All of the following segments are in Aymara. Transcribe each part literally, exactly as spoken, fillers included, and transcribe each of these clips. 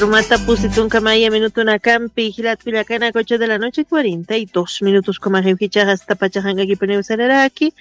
Rumata pusi tunka maya minutunakampi, jilat kullakanaka ocho de la noche, cuarenta y dos minutos. Kumaxiw jichaxa asta pachaxank'akipuniw sararaki.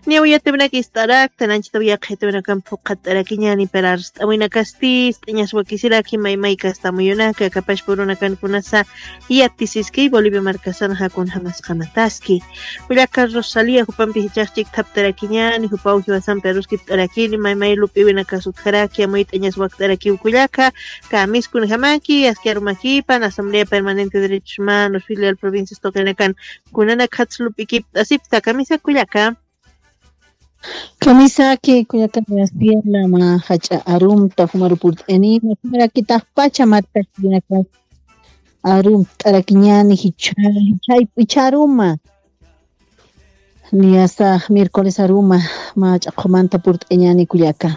Niyaw yatiwinaka ist'arakta, nanchitaw yaqhitiwinakampi phuqhat'arakiñani, pero arst'awinakasti ist'añas wakisiraki, maymayka asta amuyunaka, kapashpurunakan kunasa yatisiski Bolivia markasan jakun jamasqamataski. Kullaka Rosalía jupampi jichax chikthaptarakiñani, jupaw jiwasampi aruskipt'arakini, maymay lup'iwinakas utjaraki, amuyt'añas wakt'arakiw kullaka, kamiskunjamaki, aski arumakipan, Asamblea Permanente de Derechos Humanos, filial provincias tuqinakan, kunanak jatsa lup'ikipt'asipta, kamisa kullaka. Kamisaki kullaka Graciela, mä jach'a arumta jumaru purt'anima, jumarakitaxpacha markasirinakas arumt'arakiñani, jichha, jichha, jichha aruma. Niyasa miércoles aruma, mä jach'a qhumanta purt'añani kullaka.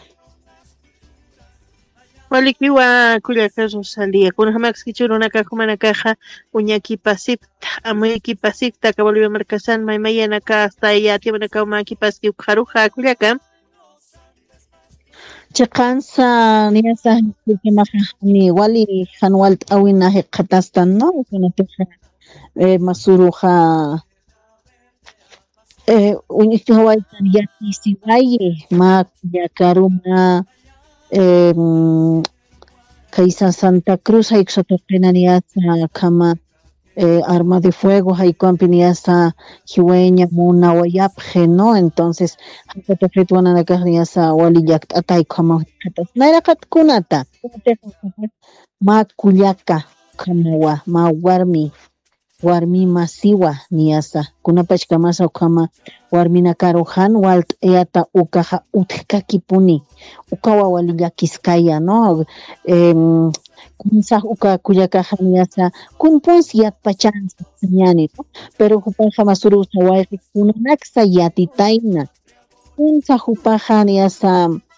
Walikiwa kullaka Rosalía, kunjamakskichu runaka jumanakaxa uñakipasipta, amuykipasikta, aka Bolivia markasan maymayanaka asta yatiwanaka umakipaski ukxaruxa kullaka. Chiqansa niyasa, kullkamaxa ni wali jan walt'awina jikxatastan, ¿no? Kunatixa, eh, masuruxa, eh, uñjawaytan yatisiwayi, mä kullakaruma, em, kaysa Santa Cruz jaykusa tuqina niyasa akhama, eh, arma de fuego jaykuwampi niyasa jiwayaña munawayapxi, ¿no? Entonces jaykuwa tuqit wananakax niyasa wali llakt'ata jaykuwama jikxatas nayraqat kunata, mä kullaka, ukhamawa mä warmi, warmi masiwa niyasa, kunapachkamasa ukhama warminakaru jan walt'ayata ukaxa utjkakipuni, ukawa wali llakiskaya, ¿no? Em, kunsax uka kullakaxa niyasa, kunpunsi yatpachansa sañani, ¿no? Pero jupaxa masurusa wayqi kunanaksa yatitayna, kunsa jupaxa niyasa,